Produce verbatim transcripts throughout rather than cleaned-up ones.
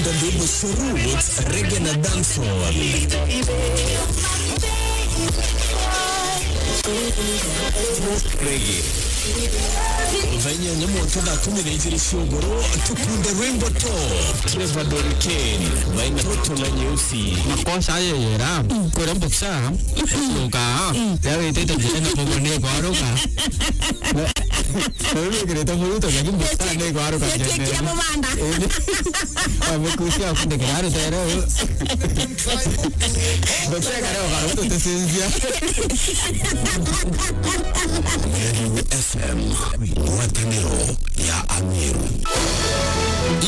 Ndwimbo cia roots, reggae na dancehall. Reggae. Thaa inyanya mwanka thaa kumi na ijiri cia ugoro, tukunde rwimbo to. Trevor Don Kane, baina Toto na Nyeusi. Makosa ayo yera, kwera mboksa, luka, ya wetete njira na bobo ne kwaruka. Na wikirite muruto, lakini mboksa ne kwaruka. Kira mubanda. Amukucia akunde kiraro tero. Mboksa kare okaruto tesinzia. Meru F M, ngwataniro ya Ameru.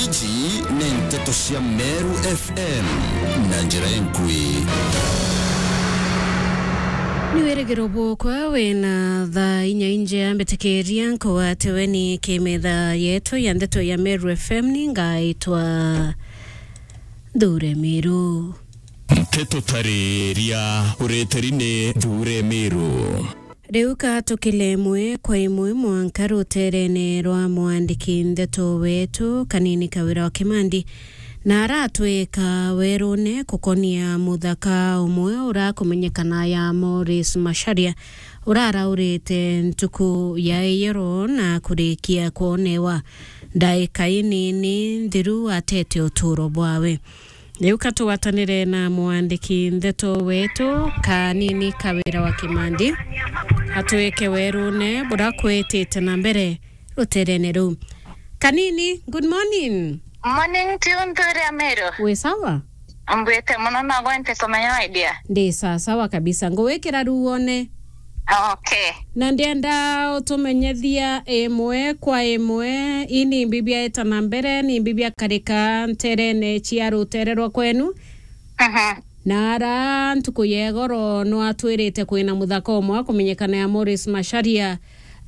Iji ni nteto cia Meru F M na njira enkui. Ni wirigiro bwokwa wina thaa inya inje ambitikiria nkugwate weni kimetha yetu ya ndeto ya Meru F M ni ngaitwa Thure Miru. Nteto tariria ureteri ni Thure Miru. Riu ka tukile imwe kwa imwe mwanka ruterene rwa mwandiki ndeto wetu Kanini Kawira wa Kimandi, na aratwika werune kukonia muthaka umwe urakumenyekana ya Morris Macharia, uraraurite ntuku ya iyoro na kurikia kwonewa ndaika inini nthiru atete uturo bwawe. Riu ka tugwatanire na mwandiki ndeto wetu Kanini Kawira wa Kimandi, atwike werune buria kwitite na mbere ruterene ruu. Kanini, good morning. Morning to you, Nthure Ameru. Wi sawa? Mbwite muno, no gwente kumenya, my dear. Ndi sawa sawa kabisa. Ngugwikira riu wone. Okay. Na ndienda utumenyethia imwe kwa imwe, ii ni mbi biaeta na mbere, ni mbi biakarika nterene cia rutere rwa kwenu. Mhm. Na ara ntuku ya igoro nwatwirite kwina muthaka umwe wa kumenyekana ya Morris Macharia,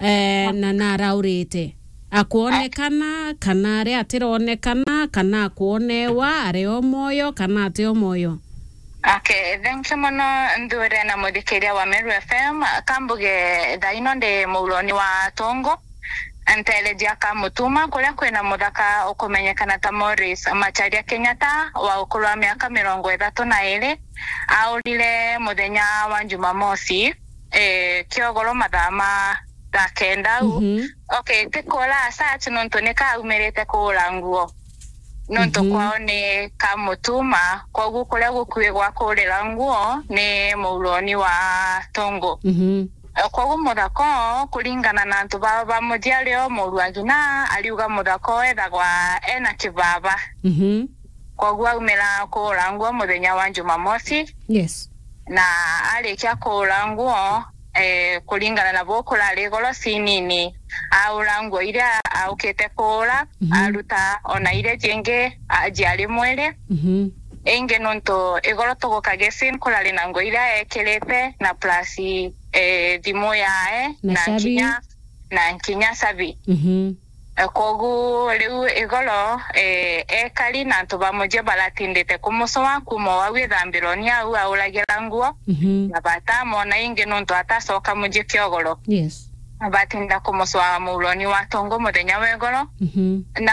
eh, na naraurite. Akwonekana, kana ari atironekana, kana akwonewa, ari o moyo, kana ati o moyo? Okay, thank you muno, Nthure na muthikiria wa Meru F M. Kambuge thaa ino ndi muuroni wa Tongo, ntereji ya Kamutuma, kuria kwina muthaka ukumenyekana ta Morris Macharia Kenyatta, wa ukuru wa miaka mirongo ithatu na iri. Aurire muthenya wa Jumamosi, eh, kiogoro mathaa ma thaa kenda au. Mhm. Okay, ti kuura as such nontu ni kaumirite kuura nguo. Nontu Mhm. kwao ni Kamutuma, kwogu kuria gukui gwa kuurira nguo ni muuroni wa Tongo. Mhm. Kwogu muthaka oo, kuringana na antu baa bamujiari o muuru wa ngina, ariuga muthaka oo ethagwa ena kibaba. Mhm. Kwogu aumira kuura nguo muthenya wa Jumamosi. Yes. Na arikia kuura nguo, eh, kuringana na buu kurari igoro cinini, aura nguo iria aukite kuura, Mhm. aruta ona iria jingi, a-, jiari mwiri. Mhm. Ingi nontu igoro tuguka gesin kurari na nguo iria ekirite, na plus, eh, thimu yae, Na na cabi. nkinya, na nkinya cabi. Mhm. Eh, kwogu riu igoro, eh, ekari na antu ba muji baratindite kumucoa kuuma o au ithambironi au auragira nguo, Mhm. na batamwona ingi nontu atacoka muji kiogoro. Yes. Batinda kumucoa muuroni wa Tongo muthenya wa igoro, Mhm. na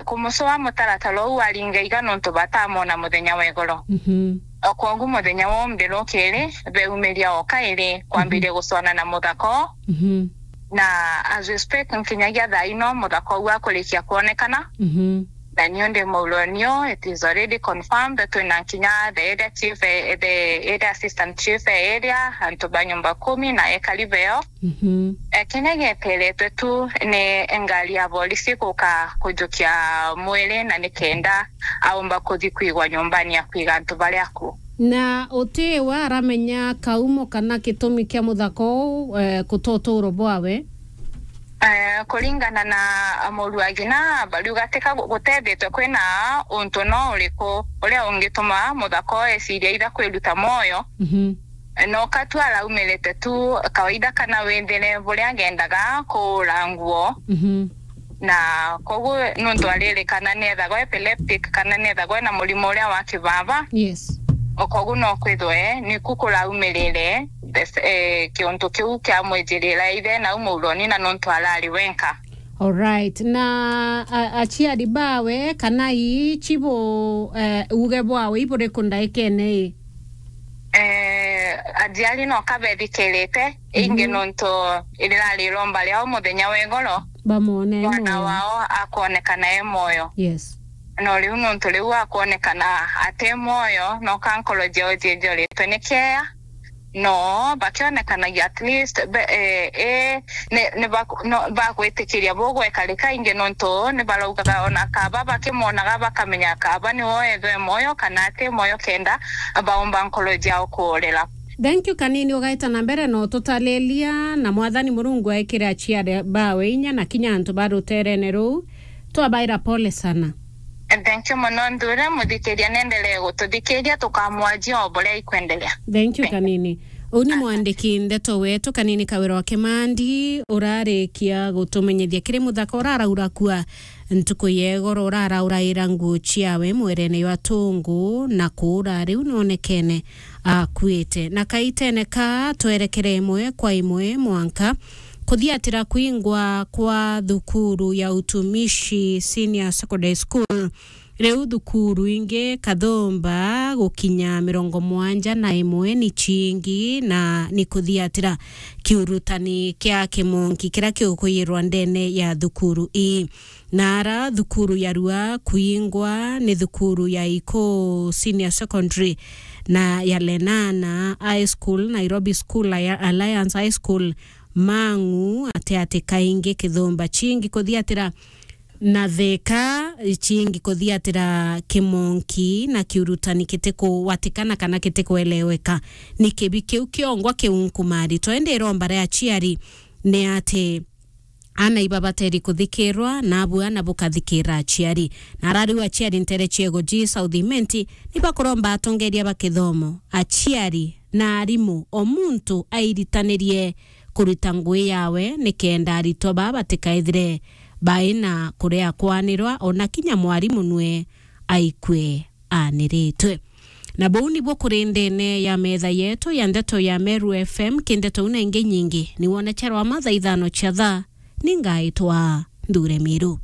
kumucoa mutaratara uu aringa iga nontu batamwona muthenya wa igoro. Mhm. O kwogu muthenya wa umbiro kiri, beumiria o kairi kwambiria Mhm. gucwana na muthaka oo. Mhm. Na as we speak, nkinyagia thaa ino muthaka uu akurikia kwonekana. Mhm. Na niu ndi muuroni oo, it is already confirmed. Twina nkinya the area chief, eh, the area assistant chief, eh, area, antu ba nyumba kumi na ekari beo. Mhm. Eh, kinya gieteretwe tu ni ngari ya borisi guka kujukia mwiri, na nikenda aumba kuthi kwigwa nyumbani ya kwiga antu baria aku. Na uti we aramenya kaumo kana gitumi kia muthaka uu, eh, kuta uturo bwawe? Eh, kuringana na muruagina, bariuga tika gu-, gutethitwe kwina untu no uriku uria ungituma muthaka uu eciria itha kwiruta mwoyo. Mhm. No katu araumirite tu kawaida kana withire buria agendaga kuura nguo. Mhm. Na koguo nuntu aririkana niethagwa epileptic kana niethagwa ena murimo uria wa kibaba. Yes. O koguo no kwithwe niku kuraumirire this, eh, kiuntu kiu kiamwijirira ithe nau muuroni na nuntu arari wenka. Alright. Na a- aciari bawe kana ii chibu, eh, uge bwawe iburiku ndaikene ii? Eh, aciari no kabethikirite, ingi Mhm. nontu irirari iromba riao muthenya wa igoro, Bamwone e mwana mwoyo. wao akwonekana e mwoyo. Yes. No riu nontu riu akwonekana ati mwoyo, no ka nkoro ciao ciijoritwe ni kieya, no bakionekanagia at least be, eh, eh, ni, ni bak- no, bagwitikiria bugwekarika ingi nontu ni baraugaga ona kaba bakimwonaga bakamenya kaba ni woethwe mwoyo kana ati mwoyo kenda baumba nkoro ciao kuurira. Thank you kanini, ugaita na mbere no tutalilia, na Mwathani Murungu aikire aciari bawe inya na kinya antu ba ruterene ruu. Twabaira pole sana. Thank you muno nthure muthikiria, nendelee gututhikiria tukamwajia o buria ikwendelea. Thank you kanini. Uu ni mwandiki ndeto wetu kanini Kawira wa Kimandi urarikia gutumenyithia kiri muthaka uraraura kua ntuku ya igoro urarauraira nguo ciawe mwerene jwa Tungu na kuura riu nonekene akuite. Na kaitene ka twerekere imwe kwa imwe mwanka kuthiatira kwingwa kwa thukuru ya Utumishi Senior Secondary School. Riu thukuru ingi kathumba gukinya mirongo mwanja na imwe ni cingi na ni kuthiatira kiurutani kia kimonki kiria kigukwiyirwa ndene ya thukuru ii. Na ara thukuru ya rua kwingwa ni thukuru ya Ikuu Senior Secondary na ya Lenana High School, Nairobi School, Alliance High School, Mang'u, ati ati kaingi kithumba cingi kuthiatira na Thika, cingi kuthiatira kimonki na kiurutani kitikuwatikana kana kitikueleweka. Ni kibi kiu kiongwa kiunkumari. Twende iromba ria aciari ni ati ana iba bateri kuthikirwa, na abu ana bukathikira aciari. Na ara riu aciari ntere ciego ji South Imenti ni bakuromba atongeria ba kithomo, aciari na arimu, o muntu airitanirie kuruta ngui yawe nikenda aritwa baa batikaithire baina kuria kwanirwa, ona kinya mwarimu nwe aikue aniritwe. Na buu nibuo kuri ndene ya metha yetu ya ndeto ya Meru F M, ki ndeto una ingi nyingi, ni wone charwa mathaa ithano cia thaa, ni ngaitwa Nthure Miru.